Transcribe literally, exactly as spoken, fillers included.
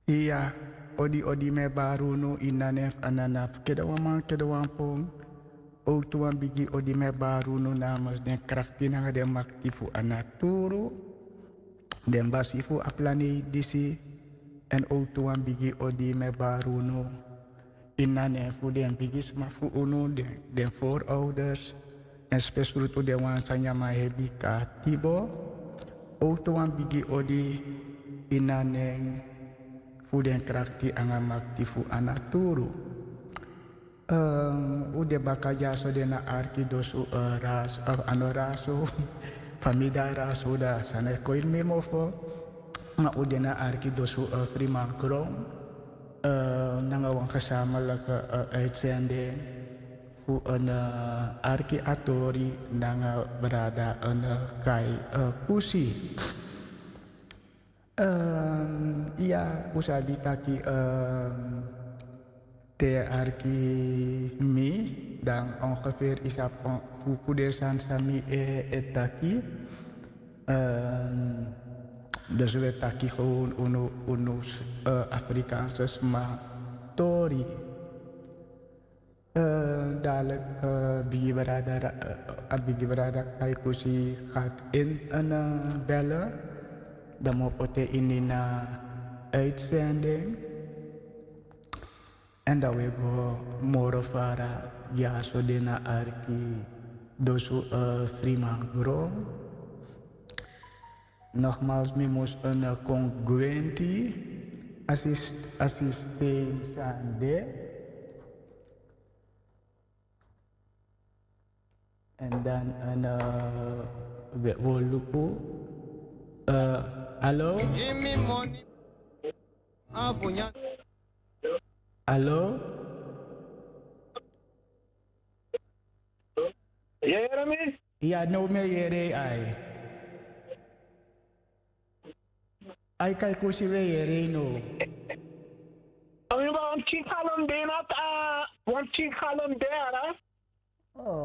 Iya, odi odi mi e bari unu ini a nen fu Anana fu kede wan man, kede wan pon. Owtu wan bigi odi mi e bari unu namens den krakti nanga den makti fu a naturu, den basi fu a planeti disi. Èn owtu wan bigi odi mi e bari unu ini a nen fu den bigisma fu unu, den, den voorouders, èn spesrutu den wan san nyan man hebi katibo. Owtu wan bigi odi ini a nen fu den krakti anga makti fu a naturu. Eh, u de baka dyaso, den na arki dosu, eh, ras, eh, a no rasu, famida rasu, da san e kon ini mi mofo. Ma u de na arki dosu, eh, Friman Kron, eh, nanga wan gezamenlijke, eh, uitzending fu a, eh, arki a tori nanga brada, eh, Kai, eh, Kusi. Ehm, iya, u sabi taki, ehm, te arki mi, dan ongeveer i sabi on-, fu, fu den sani san mi e, e taki. Ehm, dus we taki gewoon unu, unu, eh, Afrikaanse sma tori. Eh, dadelijk, eh, Bigi Brada, eh, a Bigi Brada Kai Kusi gaat in, eh, bellen. Dan moet ik in een, eh, uitzending. En dan we go moro fara, ya so de na arki, dosu, eh, Friman Gron. Nogmaals, mi mus een, eh, congruenti assist-, assisteer sande. En dan een, eh, we, we luku. Eh, hallo? Hallo? Yere mi? Ya, no mi yere ai. Ai, Kai Kusi, we yere no. Ami ba wan pikin kalon de na ta, wan pikin kalon de ara. Oh,